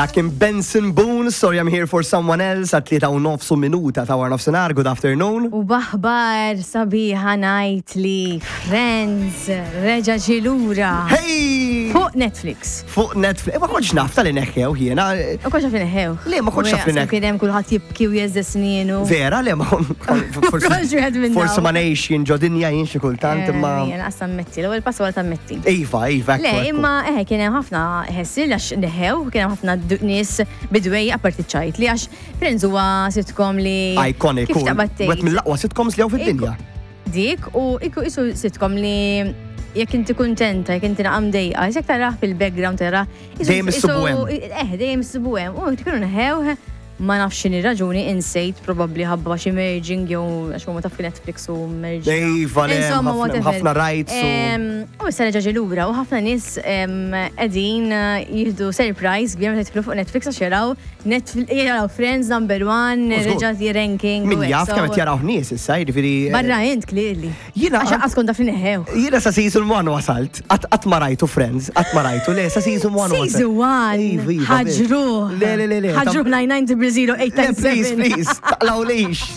Dak kien Benson Boone, Sorry I'm Here For Someone Else, għat 3 u nofs minuta ta' wara nofsinhar, good afternoon. U b'aħbar sabiħa ngħid li Friends reġa' ġie lura. Hey! Fuq Netflix. Fuq Netflix. Ma kontx naf tal-li neħħew jiena. U kontx naf li neħħew. Le, ma kontx naf li neħħew. Kien hemm kulħadd jibki u jheżżeż snienu. Vera, le, ma Kontx wieħed minn forsi ma ngħix jien ġo dinja jien xi kultant imma. Jien qas tammetti, l-ewwel pass huwa tammetti. Iva, Le, ekku. Imma kien hemm ħafna ħessil għax neħħew, kien hemm ħafna nies bidwej apparti ċajt li għax Friends huwa sitcom li Iconic. Kif taqbad Wieħed tgħid? mill-aqwa sitcoms li hawn fid-dinja. Dik u iku isu sitcom li jekk inti kuntenta, jekk inti naqam dejqa, jekk tarah fil-background tarah. Dejjem issibu hemm. Dejjem issibu hemm. U kienu neħħew, ma nafx x'inhi raġuni, insejt, probabbli ħabba xi merging jew għax huma taf Netflix u merging. Iva, le, Insomma, whatever. ħafna rights. U issa reġa' ġie lura u ħafna nies qegħdin jieħdu surprise kbir meta jidħlu fuq Netflix għax jaraw Netflix, jaraw Friends number one, U żgur. reġa' ranking. Min u hekk, jaf kemm qed jaraw nies issa, jiġifieri. Barra int clearly. Jiena Għax qas kont taf li neħħew. Jiena sa season 1 wasalt. Qatt ma rajtu Friends, qatt ma rajtu. Le, sa season 1 wasalt. Season 1. Iva, Ħaġruh. Le, le, le, le. Ħaġruh 99 0 0 Le, please, please, taqlawlix.